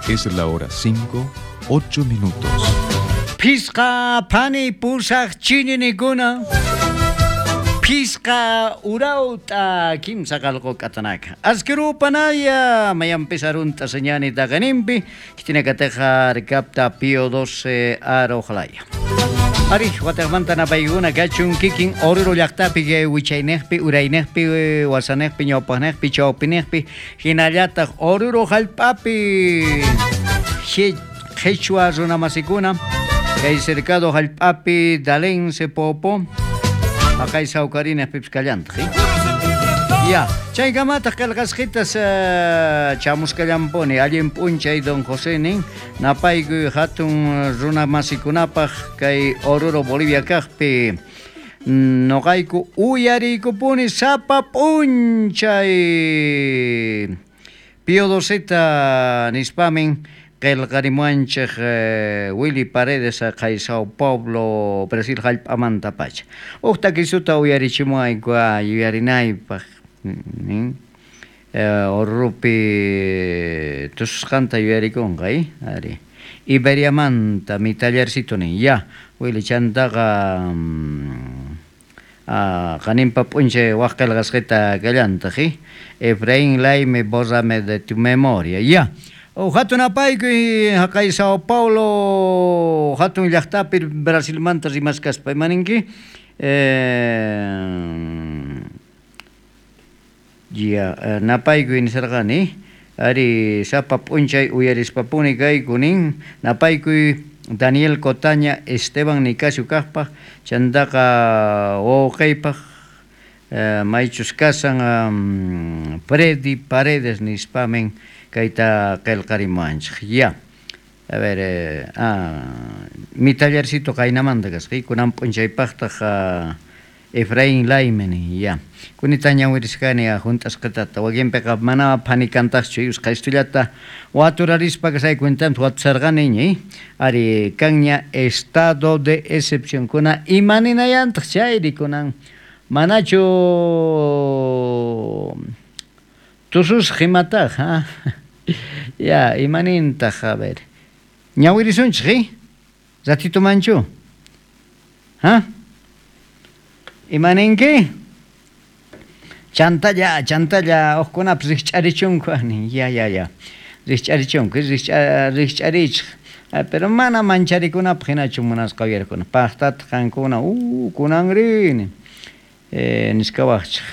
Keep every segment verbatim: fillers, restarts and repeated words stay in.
Es la hora cinco, ocho minutos. Pisqa phani pusaq chininikuna. Pisqa urauta kimsa qalqu k'atanaka. Askirupanaya mayanpis arunta señani taqaninpi kitinakateja rikapta Pío doce arojalaya. Ari, wataqmanta napaykuna kachun kikin Oruro llaqtapi wichaynejpi, uraynejpi, wasanejpi, ñawpaqnejpi, chawpinejpi, hinallataq Oruro hallp'api qhichwa runamasikuna kay cercado hallp'api Dalense Popo haqay sawkarinejpipis kallantaq. Ya, chaykamataq qillqasqitas chamusqallampuni allin p'unchay don José nin napaykuy hatun runamasikunapaq kay Oruro Bolivia kaqpi noqayku uyariykupuni sapa p'unchay Pío doceta nispamin qillqarimuanchik Willy Paredes kay Sao Paulo Brasil hallp'amanta pacha. Huk takisuta uyarichimuayku yuyarinaypaq nin Orurupi tususqanta yuyarikunqa ari Iberiamanta mi tallercito nin ya Willy chantaqa qaninpa p'unchay waq qillqasqita kallantaq Efraín Laime bórrame de tu memoria ya. Hatun apaykuy haqay Sao Paulo hatun llaqtapi Brasilmanta rimaskaspa imaninki ya napaykuy nisarqani ari sapa p'unchay uyarispapuni kayku nin napaykuy Daniel Cotaña Esteban Nicasio kaqpaq chantaqa wawqiypaq maychus kasan Freddy Paredes nispamin kayta qillqarimuanchik ya. A ver, eh, ah, mi tallercito qaynamanta kasqa kunan p'unchaypaqtaq Efraín Laime ya. Kunita ñawirisqani hunt'asqitata wakinpiqa mana phanikantaqchu usqhaystullata waturarispa kasay cuentanta watusarqaniña ari kanña estado de excepción kuna imaninayantaq chayri kunan manachu tususqa imataq ha ya imanintaq a ver ñawirisunchik ratito manchu ha imaninki chantalla chantalla hukkunapis rikch'arichunku ya ya ya rikch'arichunku rikch'arichik pero mana mancharikunapaq hinachu munasqa uyarikuna paqtataq qankuna uh kunanrini eh, nisqawaqchik.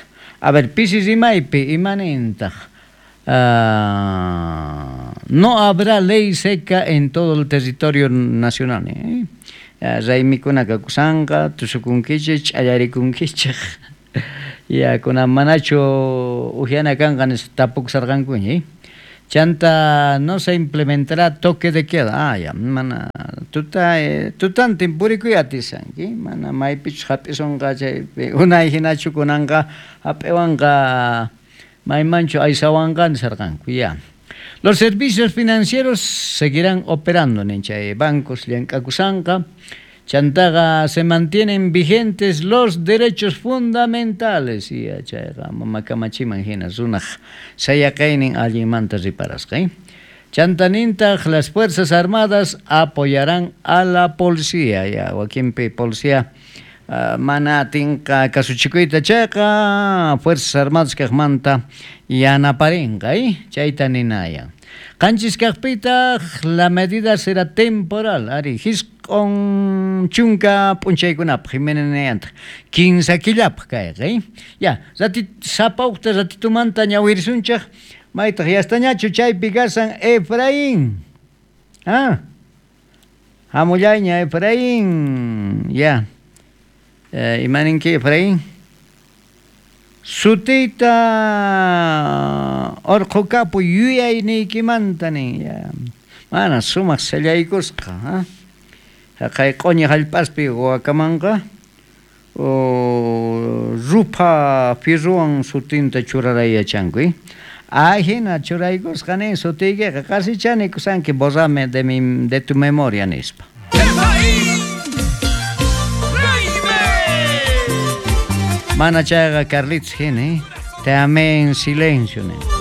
A ver, pisi rimaypi imanintaq uh, no habrá ley seca en todo el territorio nacional eh? Raymikunaqa kusanqa tusukunkichik ch'allarikunkichik ya kunan manachu uhyana kanqa nispa tapukusarqankuña eh? Chanta no se implementará toque de queda. Ah, ya, mana tuta eh, tutantin purikuy atisanki mana maypichus hap'isunqa chaypi unay hinachu kunanqa hap'iwanqa maymanchu aysawanqa nisarqanku ya. Los servicios financieros seguirán operando nin chay bancos llank'akusanqa chantaqa se mantienen vigentes los derechos fundamentales y chayqa mama kamachiman hina runaq sayaqaynin allinmanta riparasqa eh? Chantanintaq las fuerzas armadas apoyarán a la policía ya wakinpi policía uh, mana atinqa kasuchikuyta chayqa fuerzas armadas kaqmanta yanaparinqa eh? Chayta ninayan qanchis kaqpitaq la medida será temporal ari hisq'un chunka p'unchaykunapaq imaninayantaq kinsa killapaq kayqa eh? Ya ratit sapa uqta ratitumanta ñawirisunchik maytaq yastañachu chaypi kasan Efraín ah hamullayña Efraín ya eh, imaninki Efraín sutiyta urqukapu yuyayniykimanta nin ya mana sumaq sellaykusqa ha haqay q'uñi hallp'aspi wakamanqa rupha firruwan sutinta churaray yachanku eh? Ahina churaykusqa nin sutiykiqa qasichani kusanki borrame de mi de tu memoria nispa. Mana chayqa Carlitos hina eh? Te amé en silencio nin.